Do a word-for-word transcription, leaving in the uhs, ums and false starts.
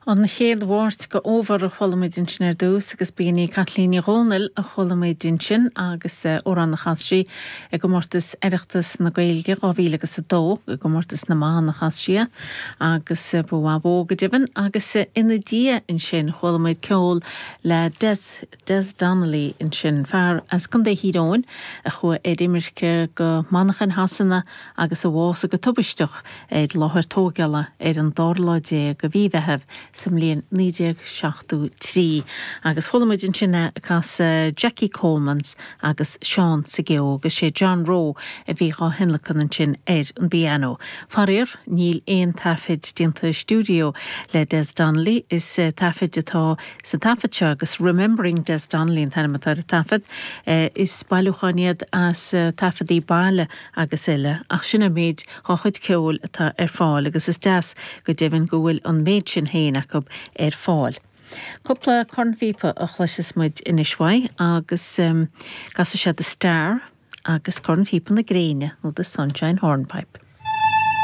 An chéad Mháirt de fhómhar a chuala muid ansin ar dtús agus b'in í Caitlín Ní Dhomhnaill a chuala muid ansin agus amhrán a chas sí i gcomórtas Oireachtas na Gaeilge dhá mhíle agus a dó i gcomórtas na mban a chas sí é agus ba mhaith bó go deimhin agus ina diaidh ansin chuala muid ceol le Des Des Donnelly ansin fear as Contae Thír Eoghain a chuaigh ar imirce go Manchain Shasana agus a bhásaigh go tubaisteach ar láthair tógála ar an dara lá déag de mhí Mheithimh sa mbliain naoi déag seachtó trí. Agus chuala muid ansin é ag casadh Jackie Coleman's agus Seán sa gCeo agus sé John Rowe a bhí dhá thionlacan ansin ar an bpianó. Faraor, níl aon taifead déanta stiúideo le Des Donnelly, is taifead atá sa taifead seo agus Remembering Des Donnelly an t-ainm atá ar an taifead. Is bailiúchán iad as taifeadaí baile agus eile, ach sin an méid dá chuid ceoil atá ar fáil agus is deas go deimhin go bhfuil an méid sin féin acu ar fáil. Cúpla cornphíopa a chloisfeas muid anois uaidh agus um, casfaidh sé The Star agus cornphíopa na gréine nó The Sunshine Hornpipe.